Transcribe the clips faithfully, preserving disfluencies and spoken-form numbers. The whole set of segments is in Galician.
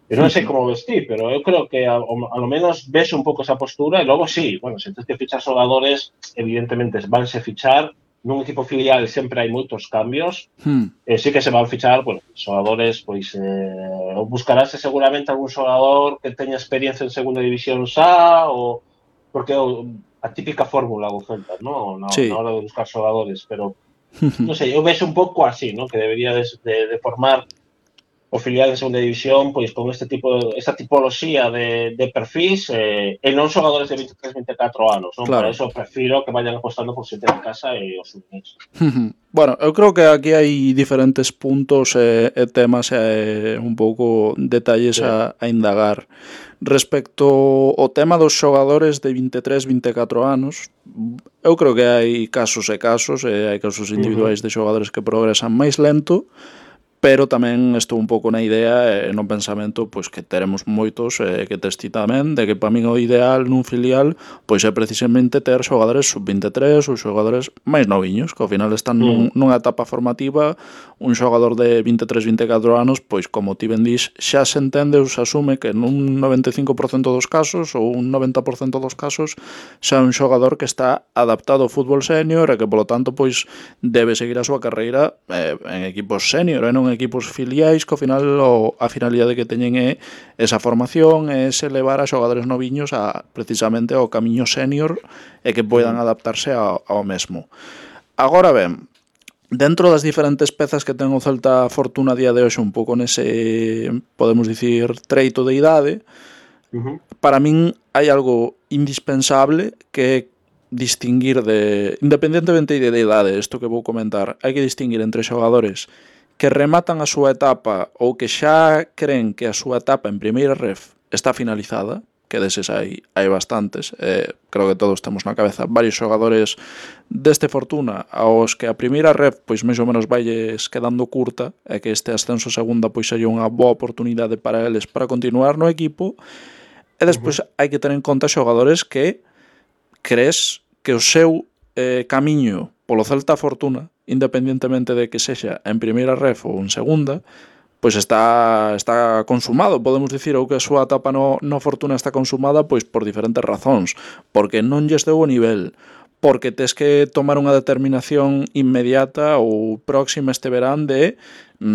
Eu non sei como vestir, pero eu creo que a, a lo menos ves un pouco esa postura e logo sí, bueno, se tens que fichar xogadores, evidentemente vanse fichar, nun equipo filial sempre hai moitos cambios, Hmm. e sí que se van fichar, bueno, xogadores, pois, eh, buscarase seguramente algún xogador que teña experiencia en segunda división xa, ou, porque a típica fórmula do Celta, no? Na, na Sí. hora de buscar xogadores, pero, non sei, eu vexo un pouco así, no? Que debería de, de, de formar o filial en segunda división, pois con este tipo, esta tipoloxía de, de perfis eh, e non xogadores de vinte e tres, vinte e catro anos, non? Para Claro. eso prefiro que vayan apostando por xente de casa e os unís. Bueno, eu creo que aquí hai diferentes puntos e, e temas e un pouco detalles Sí. a, a indagar. Respecto ao tema dos xogadores de vinte e tres, vinte e catro anos, eu creo que hai casos e casos, e hai casos individuais de xogadores que progresan máis lento, pero tamén estou un pouco na idea e no pensamento pois que teremos moitos e que tes ti tamén, de que para min o ideal nun filial pois é precisamente ter xogadores sub vinte e tres ou xogadores máis noviños, que ao final están nun, nunha etapa formativa. Un xogador de vinte e tres, vinte e catro anos, pois como ti ben dís, xa se entende ou se asume que nun noventa e cinco por cento dos casos ou un noventa por cento dos casos xa é un xogador que está adaptado ao fútbol senior e que polo tanto pois debe seguir a súa carreira eh, en equipos senior e non en equipos filiais, que ao final o, a finalidade que teñen é esa formación, é ese levar a xogadores noviños a precisamente ao camiño senior e que poidan adaptarse ao, ao mesmo. Agora ben, dentro das diferentes pezas que ten o Celta Fortuna a día de hoxe un pouco nese, podemos dicir, treito de idade, Uh-huh. para min hai algo indispensable que é distinguir de, independentemente de idade, isto que vou comentar, hai que distinguir entre xogadores que rematan a súa etapa ou que xa creen que a súa etapa en primeira ref está finalizada, que deses hai, hai bastantes, eh, creo que todos temos na cabeza varios xogadores deste Fortuna aos que a primeira ref pois máis ou menos vailles quedando curta e que este ascenso segunda pois sería unha boa oportunidade para eles para continuar no equipo. E despois uh-huh. hai que ter en conta xogadores que crees que o seu eh, camiño polo Celta Fortuna, independentemente de que sexa en primeira ref ou en segunda, pois está está consumado, podemos dicir, ou que a súa etapa no, no Fortuna está consumada pois por diferentes razóns, porque non lles deu o nivel, porque tes que tomar unha determinación inmediata ou próxima este verán de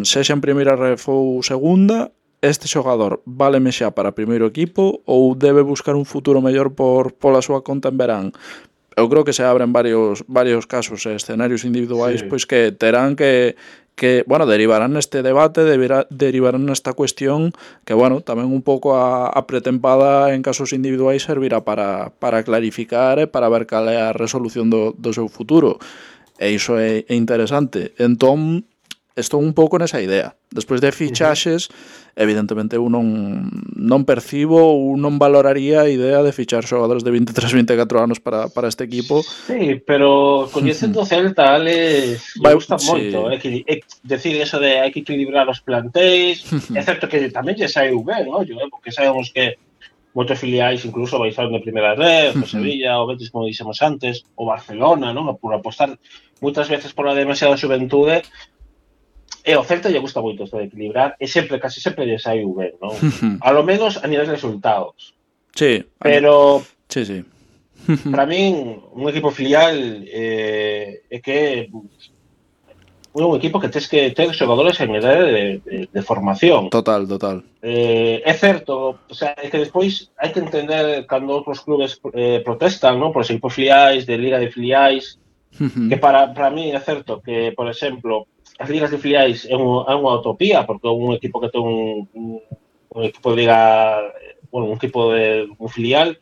sexa en primeira ref ou segunda, este xogador váleme xa para primeiro equipo ou debe buscar un futuro mellor por pola súa conta en verán. Eu creo que se abren varios varios casos e escenarios individuais sí. pois que terán que que, bueno, derivarán neste debate, deberá, derivarán nesta cuestión que, bueno, tamén un pouco a, a pretempada en casos individuais servirá para, para clarificar e para ver cal é a resolución do, do seu futuro. E iso é, é interesante. Entón, estou un pouco nesa idea. Despois de fichaxes, uh-huh. evidentemente eu non, non percibo ou non valoraría a idea de fichar xogadores de vinte e tres, vinte e catro anos para, para este equipo. Sí, pero coñecendo o Celta, Alex, me gusta sí. moito. É que, é, decir eso de hai que equilibrar os plantéis, é certo que tamén lle saiu ben, ollo, eh, porque sabemos que moitos filiais incluso baixaron de primeira red, o Sevilla, o Betis, como dixemos antes, o Barcelona, non? Por apostar moitas veces por a demasiada xuventude. E o Celta lle gusta moito isto de equilibrar e sempre, casi sempre lle saiu ben, non? A lo menos a nivel de resultados. Sí. Pero, sí, sí. para min, un equipo filial eh, é que un equipo que tens que ter xogadores en idade de, de, de formación. Total, total. Eh, é certo, o sea, é que despois hai que entender cando outros clubes eh, protestan, non? Por os equipos filiais, de liga de filiais, que para, para mí é certo que, por exemplo, as ligas de filiais é, un, é unha utopía, porque un equipo que ten un, un, un equipo de liga, bueno, un equipo de un filial,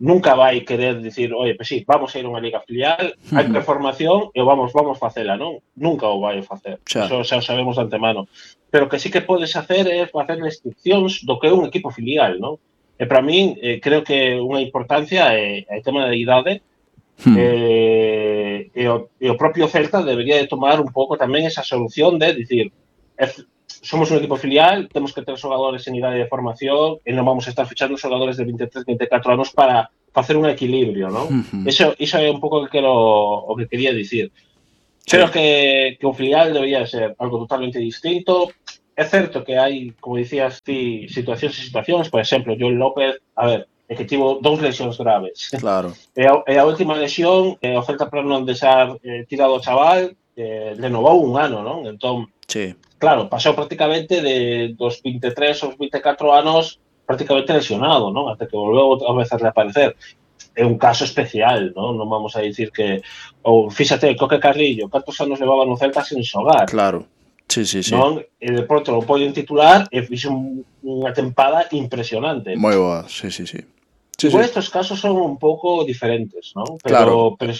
nunca vai querer dicir, oye, pues sí, vamos a ir a unha liga filial, hai reformación e vamos, vamos facela, non? Nunca o vai facer, xa. Eso xa o sabemos de antemano. Pero que sí que podes hacer é facer restriccións do que é un equipo filial, non? E para mí, eh, creo que unha importancia é, é o tema da idade. Hmm. Eh, e, o, e o propio Celta debería de tomar un pouco tamén esa solución de dicir, es, somos un equipo filial, temos que ter xogadores en idade de formación e non vamos a estar fichando xogadores de vinte e tres, vinte e catro anos para facer un equilibrio, non? Uh-huh. Iso, iso é un pouco que quero, o que quería dicir. Sí. Creo que, que un filial debería ser algo totalmente distinto. é certo que hai, como dicías ti, situacións e situacións, por exemplo, Joel López, a ver, é que tivo dous lesións graves. Claro. E a, e a última lesión, e o Celta para non deixar eh, tirado o chaval, eh, renovou un ano, non? Entón, sí. Claro, pasou prácticamente de dos vinte e tres aos vinte e catro anos prácticamente lesionado, non? Até que volveu outra vez a reaparecer. É un caso especial, non? Non vamos a dicir que... Ou, fíxate, Coque Carrillo, cantos anos levaba no Celta sen xogar? Claro, sí, sí, sí. Non? E de pronto lo poñen titular e fixe un, unha tempada impresionante. Moi boa, sí, sí, sí. Sí, Igual sí. estos casos son un pouco diferentes, non? Pero, Claro. Pero,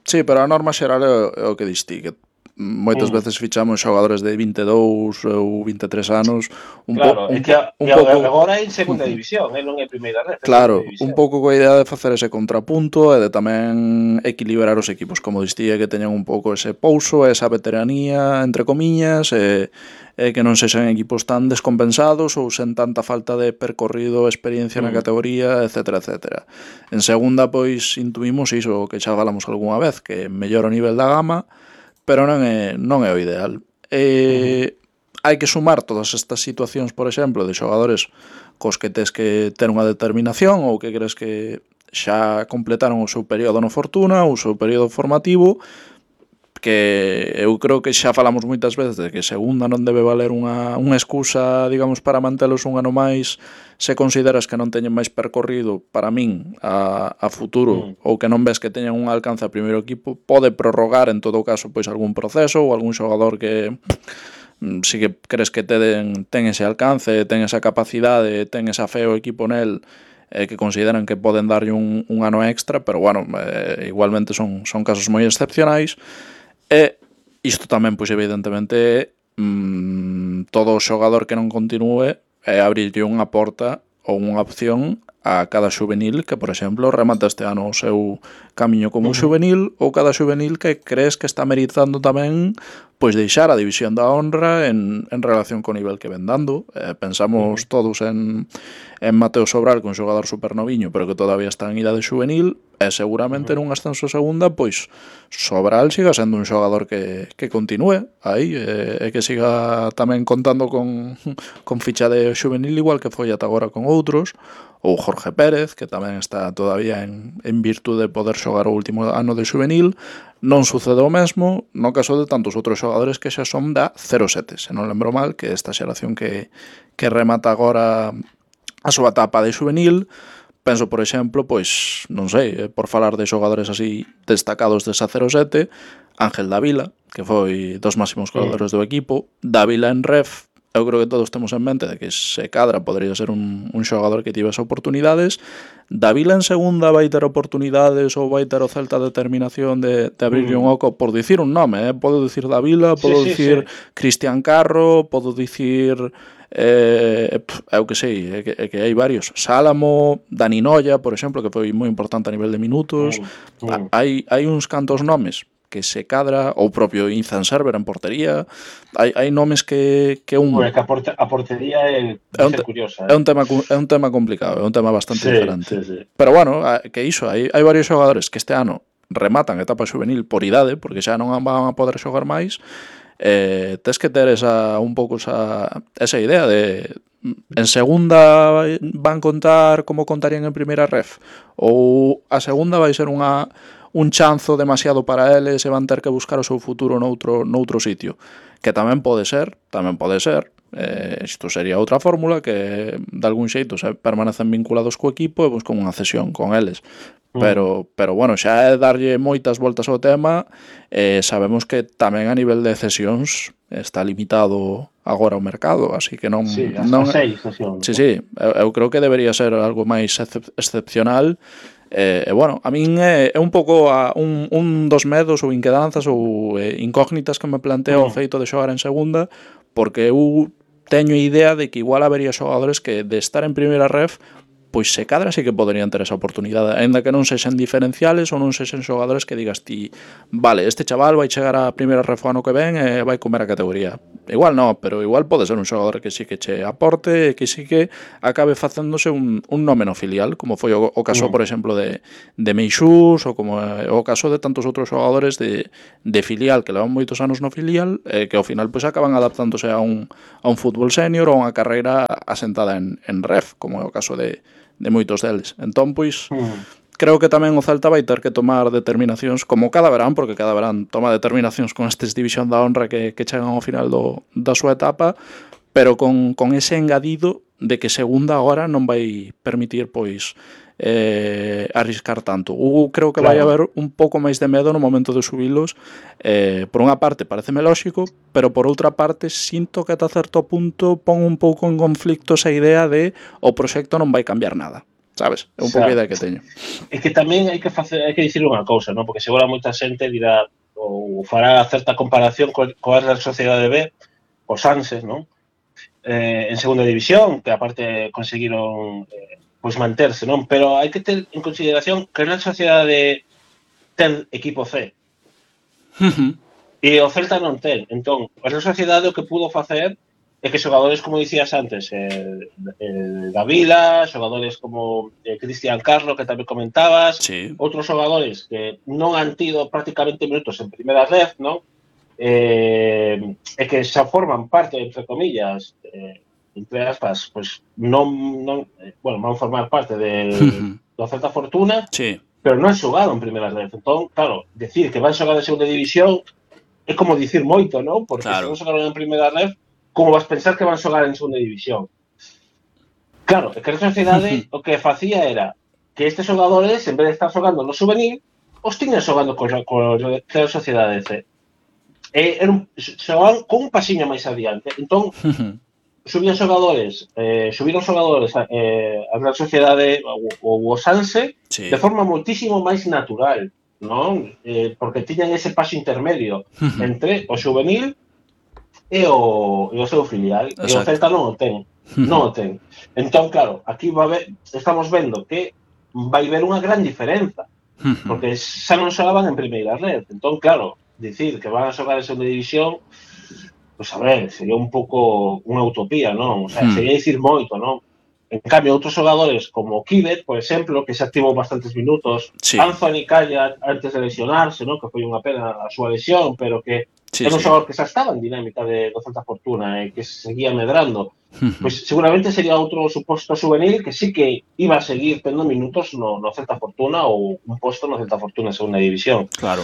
sí, pero a norma xeral é o que dis ti, que moitas mm. veces fichamos xogadores de vinte e dous ou vinte e tres anos un claro, po, un, é que a, un pouco... pouco agora é en segunda división, eh, non é primeira red. Claro, un pouco coa idea de facer ese contrapunto e de tamén equilibrar os equipos, como distía, que teñan un pouco ese pouso, esa veteranía, entre comiñas, e, e que non sexan equipos tan descompensados ou sen tanta falta de percorrido, experiencia mm. na categoría, etcétera, etcétera. En segunda, pois, intuimos iso que xa falamos algunha vez, que mellora o nivel da gama, pero non é, non é o ideal. E uh-huh. hai que sumar todas estas situacións, por exemplo, de xogadores cos que tes que ter unha determinación ou que crees que xa completaron o seu período no Fortuna, o seu período formativo, que eu creo que xa falamos moitas veces de que segunda non debe valer unha, unha excusa, digamos, para mantelos un ano máis se consideras que non teñen máis percorrido para min a, a futuro mm. ou que non ves que teñen un alcance a primeiro equipo, pode prorrogar en todo caso pois algún proceso ou algún xogador que si que crees que ten, ten ese alcance, ten esa capacidade, ten esa fe o equipo nel, eh, que consideran que poden darlle un, un ano extra, pero bueno, eh, igualmente son, son casos moi excepcionais. E isto tamén, pois evidentemente, mmm, todo xogador que non continúe é abrirlle unha porta ou unha opción a cada xuvenil que, por exemplo, remata este ano o seu camiño como uh-huh. xuvenil, ou cada xuvenil que crees que está meritando tamén pois deixar a división da honra en, en relación co nivel que ven dando. Eh, pensamos uh-huh. todos en, en Mateo Sobral, que é un xogador supernoviño, pero que todavía está en idade xuvenil, e seguramente uh-huh. nun ascenso segunda, pois Sobral siga sendo un xogador que, que continúe aí, e, e que siga tamén contando con, con ficha de xuvenil, igual que foi ata agora con outros, ou Jorge Pérez, que tamén está todavía en, en virtude de poder xogar o último ano de xuvenil. Non sucede o mesmo no caso de tantos outros xogadores que xa son da cero sete, se non lembro mal, que esta xeración que, que remata agora a súa etapa de xuvenil. Penso, por exemplo, pois, non sei, por falar de xogadores así destacados desa cero sete, Ángel Dávila, que foi dos máximos goleadores do equipo. Dávila en ref, eu creo que todos temos en mente de que se cadra podría ser un, un xogador que tivese oportunidades. Dávila en segunda vai ter oportunidades ou vai ter o Celta determinación de, de abrirlle mm. un oco, por dicir un nome, eh? Podo dicir Dávila, podo sí, dicir sí, sí. Cristian Carro, podo dicir eh, eu que sei, é que, é que hai varios, Sálamo, Dani Noia, por exemplo, que foi moi importante a nivel de minutos. mm. Mm. Hai, hai uns cantos nomes que se cadra, ou propio Izan Server en portería. Hai, hai nomes que, que un... Bueno, que a, porte, a portería é, é, un, curiosa, eh? é, un tema, é un tema complicado, é un tema bastante sí, diferente. Sí, sí. Pero bueno, que iso, hai, hai varios xogadores que este ano rematan etapa xuvenil por idade, porque xa non van a poder xogar máis. Eh, tes que ter esa, un pouco esa, esa idea de en segunda van contar como contarían en primeira ref, ou a segunda vai ser unha un chanzo demasiado para eles e van ter que buscar o seu futuro noutro, noutro sitio, que tamén pode ser, tamén pode ser, eh, isto sería outra fórmula, que de algún xeito se permanecen vinculados co equipo e buscan unha cesión con eles. Pero, pero bueno, xa é darlle moitas voltas ao tema, e sabemos que tamén a nivel de cesións está limitado agora o mercado, así que non... Sí, as non seis cesións. Sí, sí, eu, eu creo que debería ser algo máis excep- excepcional. E, eh, bueno, a min é, é un pouco a, un, un dos medos ou inquedanzas ou eh, incógnitas que me planteo o feito de xogar en segunda, porque eu teño idea de que igual habería xogadores que de estar en primeira ref pois se cadra sí que poderían ter esa oportunidade, aínda que non sexen diferenciales ou non sexen xogadores que digas ti, vale, este chaval vai chegar a primeira ref o ano que ven e vai comer a categoría. Igual non, pero igual pode ser un xogador que sí que che aporte e que sí que acabe facéndose un, un nome no filial, como foi o, o caso, Mm. por exemplo, de, de Meixús, ou como é o caso de tantos outros xogadores de, de filial que levan moitos anos no filial e que ao final pois acaban adaptándose a un, a un fútbol senior ou a unha carreira asentada en, en ref, como é o caso de de moitos deles. Entón, pois, Mm. creo que tamén o Celta vai ter que tomar determinacións, como cada verán, porque cada verán toma determinacións con estes División da Honra que, que chegan ao final do, da súa etapa, pero con, con ese engadido de que segunda hora non vai permitir, pois, eh, arriscar tanto. Eu creo que claro, vai haber un pouco máis de medo no momento de subilos. Eh, por unha parte, pareceme lóxico, pero por outra parte, sinto que ata certo punto pon un pouco en conflicto esa idea de o proxecto non vai cambiar nada. Sabes? É un pouco a idea que teño. É que tamén hai que facer, hai que dicir unha cousa, non? Porque segura moita xente dirá ou fará certa comparación co, coa Real Sociedade B, os Sanses, non? Eh, en segunda división, que aparte conseguiron eh, pois manterse, non? Pero hai que ter en consideración que a Real Sociedade ten equipo C. Uh-huh. E o Celta non ten. Entón, a Real Sociedade o que pudo facer é que xogadores, como dicías antes, eh, eh, Davila, xogadores como eh, Cristian Carlo, que tamén comentabas, sí, outros xogadores que non han tido prácticamente minutos en primeira ref, non? Eh, e que xa forman parte, entre comillas, eh, entre aspas, pues non, non eh, bueno, van formar parte de, do Celta Fortuna, sí, pero non han xogado en primeira ref. Entón, claro, decir que van xogar en segunda división é como dicir moito, non? Porque claro, se non xogaron en primeira ref, como vas pensar que van xogar en segunda división? Claro, é que a Sociedade o que facía era que estes xogadores, en vez de estar xogando no juvenil, os tiñan xogando co, co Real Sociedade C. E eran, xogaban con un pasiño máis adiante. Entón, subían xogadores, eh, subiron xogadores eh, a Real Sociedade ou o Sanse sí, de forma moitísimo máis natural, non? Eh, porque tiñan ese paso intermedio entre o juvenil e o, e o seu filial. Exacto. E o Celta non o ten. Non o ten. Entón, claro, aquí va ver, estamos vendo que vai haber unha gran diferenza. Porque xa non xogaban en primeira red. Entón, claro, dicir que van a xogar en segunda división, pois, a ver, sería un pouco unha utopía, non? O sea, sería dicir moito, non? En cambio, outros xogadores como Kivet, por exemplo, que xa activou bastantes minutos, sí. Anthony Calla antes de lesionarse, non? Que foi unha pena a súa lesión, pero que sí, era un xogador sí. que xa estaba en dinámica de, de Celta Fortuna e que seguía medrando. Pois seguramente sería outro suposto juvenil que sí que iba a seguir tendo minutos no, no Celta Fortuna ou un posto no Celta Fortuna en segunda división. Claro.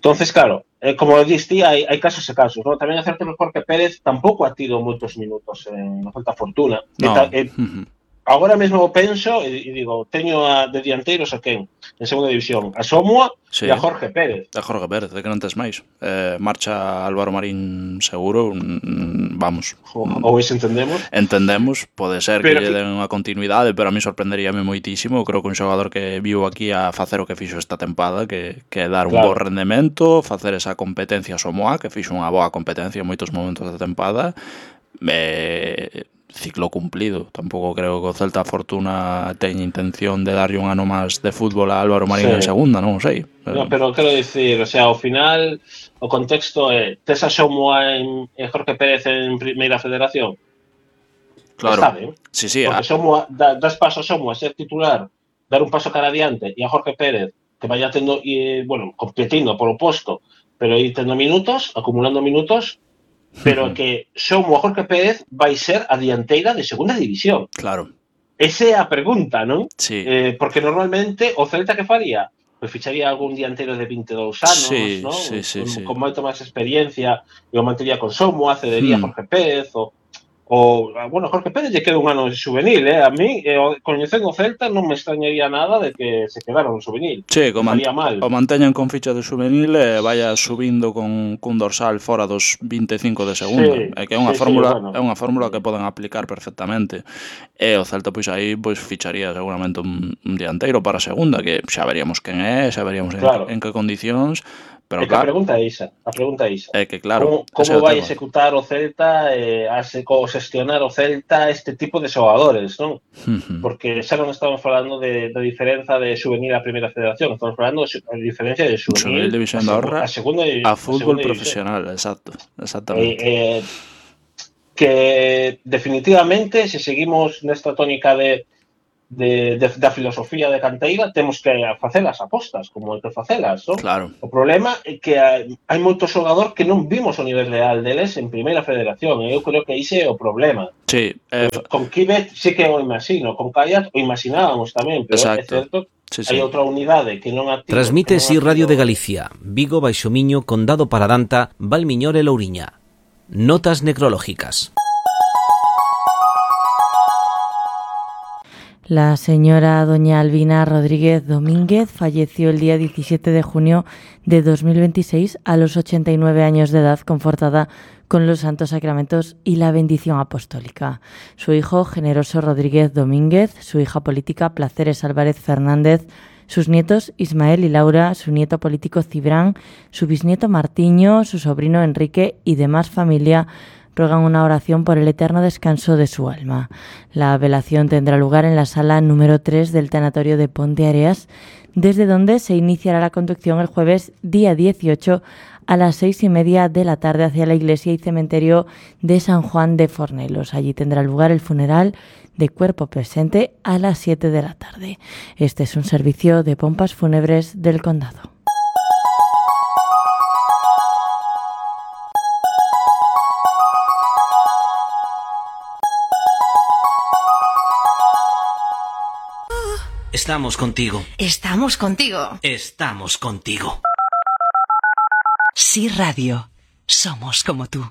Entonces, claro, eh, como diste, hai, hai casos e casos, ¿no? Tamén é certo que Jorge Pérez tampouco ha tido moitos minutos en no Celta Fortuna. No. E ta, e, uh-huh. Agora mesmo penso e, e digo, teño a de dianteiros a quen? En segunda división, a Somua sí. e a Jorge Pérez. A Jorge Pérez, de que non tes máis. Eh, marcha Álvaro Marín seguro, mm, vamos. O, ou iso entendemos? Entendemos, pode ser pero que lle den unha continuidade, pero a mí sorprenderíame moitísimo. Creo que un xogador que viu aquí a facer o que fixo esta tempada, que, que dar un claro. bo rendemento, facer esa competencia a Somoa, que fixo unha boa competencia en moitos momentos da tempada, eh, ciclo cumplido. Tampouco creo que o Celta Fortuna teña intención de darlle un ano máis de fútbol a Álvaro Marín sí. en segunda, non sei. Pero... No, pero quero dicir, o sea, ao final o contexto é tes a Somoa en, en Jorge Pérez en primeira federación. Claro. Está ben. Sí, sí. Porque a... Somoa, da, das paso a Somoa a ser titular, dar un paso cara adiante e a Jorge Pérez que vaya tendo, e, bueno, competindo polo posto, pero aí tendo minutos, acumulando minutos, pero que Somo a Jorge Pérez vai ser a dianteira de segunda división. Claro. Esa é a pregunta, non? Sí. Eh, porque normalmente o Celta que faría? Pois ficharía algún dianteiro de vinte e dous anos, sí, non? Sí, sí, con, sí. con moito máis experiencia e o mantería con Somo, cedería hmm. a Jorge Pérez ou O, bueno, Jorge Pérez lle queda un ano de juvenil, eh? A mí, eh, coñecendo o Celta, non me extrañaría nada de que se quedara un juvenil. Sí, o, man mal. o manteñan con ficha de juvenil e eh, vaya subindo con cun dorsal fora dos vinte e cinco de segunda. Sí, é que é unha sí, fórmula, sí, bueno. é unha fórmula que poden aplicar perfectamente. E o Celta, pois aí, pois ficharía seguramente un, un dianteiro para a segunda, que xa veríamos quen é, xa veríamos claro. en, en que condicións, Pero é que a claro, pregunta é isa, a pregunta é isa. é que claro, Como, ese é como o vai tema. executar o Celta eh, a se, co xestionar o Celta este tipo de xogadores, non? Uh-huh. Porque xa non estamos falando de, de diferenza de juvenil a primeira federación, estamos falando de a diferencia de juvenil, Juvenil División a, da segu, Honra a segunda a a fútbol segunda profesional, exacto, exactamente. Eh, eh, que definitivamente, se seguimos nesta tónica de De, de, da filosofía de canteira, temos que facer as apostas, como hai que facelas, non? Claro. O problema é que hai, hai moito xogador que non vimos o nivel real deles en primeira federación, e eu creo que ise é o problema. Sí, eh, Pues, con Kibet sí que o imagino, con Callas o imaginábamos tamén, pero exacto. é certo, sí, sí. hai outra unidade que non ha tido... Transmite non Si ha Radio tido... de Galicia, Vigo, Baixo Miño, Condado Paradanta, Valmiñor e Louriña. Notas necrológicas. La señora doña Albina Rodríguez Domínguez falleció el día diecisiete de junio de dos mil veintiséis a los ochenta y nueve años de edad, confortada con los santos sacramentos y la bendición apostólica. Su hijo, Generoso Rodríguez Domínguez, su hija política, Placeres Álvarez Fernández, sus nietos Ismael y Laura, su nieto político Cibrán, su bisnieto Martiño, su sobrino Enrique y demás familia ruegan una oración por el eterno descanso de su alma. La velación tendrá lugar en la sala número tres del tanatorio de Ponte Areas, desde donde se iniciará la conducción el jueves día dieciocho a las seis y media de la tarde hacia la iglesia y cementerio de San Juan de Fornelos. Allí tendrá lugar el funeral de cuerpo presente a las siete de la tarde. Este es un servicio de pompas fúnebres del condado. Estamos contigo. Estamos contigo. Estamos contigo. Si Radio. Somos como tú.